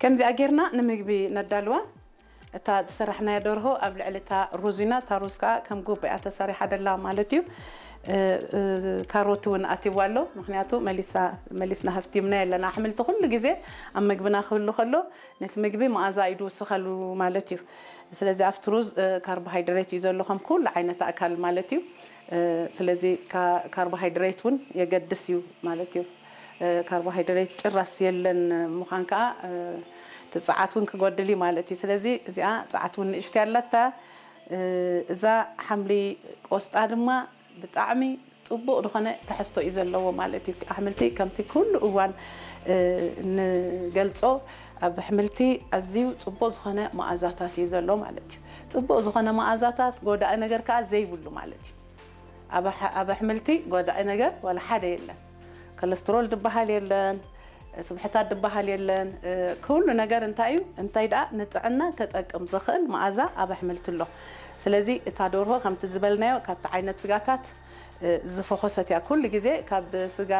ከምዚኣ ጌርና ንምግቢ ነዳልዋ። እታ ዝሰራሕናያ ደርሆ ኣብ ልዕሊ እታ ሩዝ ኢና። እታ ሩዝ ከዓ ከም ጉብ እያ ተሰሪሓ ደላ ማለት እዩ። እ፣ እ፣ ካሮት እውን ኣትይዋ ኣሎ። ምኽንያቱ መሊሳ-፣ መሊስና ሃፍቲምና የለና። ኣሕምልቲ ኩሉ ግዜ ኣብ ምግብና ክህሉ ከሎ ነቲ ምግቢ መኣዛ እዩ ዝውስኸሉ ማለት እዩ። ስለዚ ኣብቲ ሩዝ፣ እ፣ ካርቦሃይድሬት እዩ ዘሎ ከም ኩሉ ዓይነት ኣካል ማለት እዩ። እ፣ ስለዚ ካ-፣ ካርቦሃይድሬት እውን የገድስ እዩ ማለት እዩ። እ፣ ካርቦሃይድሬት ጭራስ የለን ምዃን ከዓ፣ እ፣ እቲ ጸዓት እውን ክጎድል እዩ ማለት እዩ። ስለዚ እዚኣ ጸዓት እውን ንእሽቶ ኣለታ። እ፣ እዛ ሓምሊ ቆስጣ ድማ ብጣዕሚ ጽቡቕ ዝኾነ ትሕዝቶ እዩ ዘለዎ ማለት እዩ። ኣሕምልቲ ከምቲ ኩሉ እዋን፣ እ፣ ንገልጾ ኣብ ኣሕምልቲ ኣዝዩ ጽቡቕ ዝኾነ መኣዛታት እዩ ዘሎ ማለት እዩ። ጽቡቕ ዝኾነ መኣዛታት፣ ጎዳኢ ነገር ከዓ ዘይብሉ ማለት እዩ። ኣብ ኣሕ-፣ ኣብ ኣሕምልቲ ጎዳኢ ነገር ዋላ ሓደ የለን። ኮለስትሮል ዝበሃል የለን፣ ስብሕታት ዝበሃል የለን። እ፣ ኩሉ ነገር እንታይ እዩ? እንታይ ደኣ ንጥዕና ከጠቅም ዝኽእል መኣዛ ኣብ ኣሕምልቲ ኣሎ። ስለዚ እታ ደርሆ ከምቲ ዝበልናዮ ካብቲ ዓይነት ስጋታት፣ እ፣ ዝፈኾሰት እያ። ኩሉ ግዜ ካብ ስጋ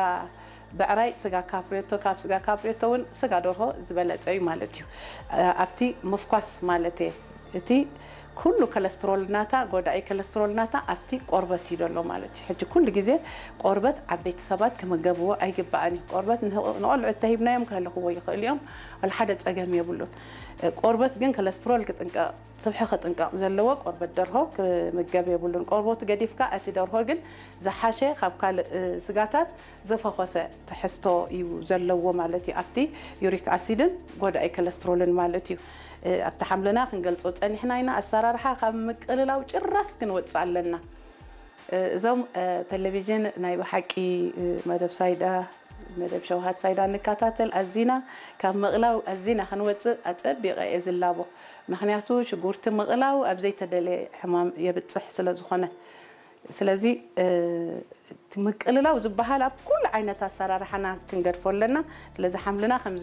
ብዕራይ፣ ስጋ ካፕሬቶ፣ ካብ ስጋ ካፕሬቶ እውን ስጋ ደርሆ ዝበለጸ እዩ ማለት እዩ። እ፣ ኣብቲ ምፍኳስ ማለት እየ። እቲ ኩሉ ኮለስትሮል ናታ፣ ጎዳኢ ኮለስትሮል ናታ ኣብቲ ቆርበት እዩ ዘሎ ማለት እዩ። ሕጂ ኩሉ ግዜ ቆርበት ዓበይቲ ሰባት ክምገብዎ ኣይግባእን እዩ። ቆርበት ንህ-፣ ንቆልዑ ተሂብናዮም ክህልኽዎ ይኽእሉ እዮም። ዋላ ሓደ ጸገም የብሉን። እ፣ ቆርበት ግን ኮለስትሮል ክጥንቀቕ፣ ስብሒ ክጥንቀቕ ዘለዎ ቆርበት ደርሆ ክምገብ የብሉን። ቆርበቱ ገዲፍካ እቲ ደርሆ ግን ዝሓሸ ካብ ካልእ፣ እ፣ ስጋታት ዝፈኾሰ ትሕዝቶ እዩ ዘለዎ ማለት እዩ። ኣብቲ ዩሪክ ኣሲድን ጎዳኢ ኮለስትሮልን ማለት እዩ። እ፣ ኣብቲ ሓምልና ክንገልጾ ጸኒሕና ኢና። ኣሰራርሓ ካብ ምቅልላው ጭራስ ክንወጽእ ኣለና። እ፣ እዞም፣ እ፣ ቴሌቪዥን ናይ ብሓቂ፣ እ፣ መደብ ሳይዳ፣ መደብ ሸውሃት ሳይዳ ንከታተል ኣዚና ካብ ምቕላው ኣዚና ክንወጽእ ኣጸቢቐ እየ ዝላቦ። ምኽንያቱ ሽጉርቲ ምቕላው ኣብ ዘይተደለየ ሕማም የብጽሕ ስለ ዝኾነ። ስለዚ፣ እ፣ እቲ ምቅልላው ዝበሃል ኣብ ኩሉ ዓይነት ኣሰራርሓና ክንገድፎ ኣለና። ስለዚ ሓምልና ከም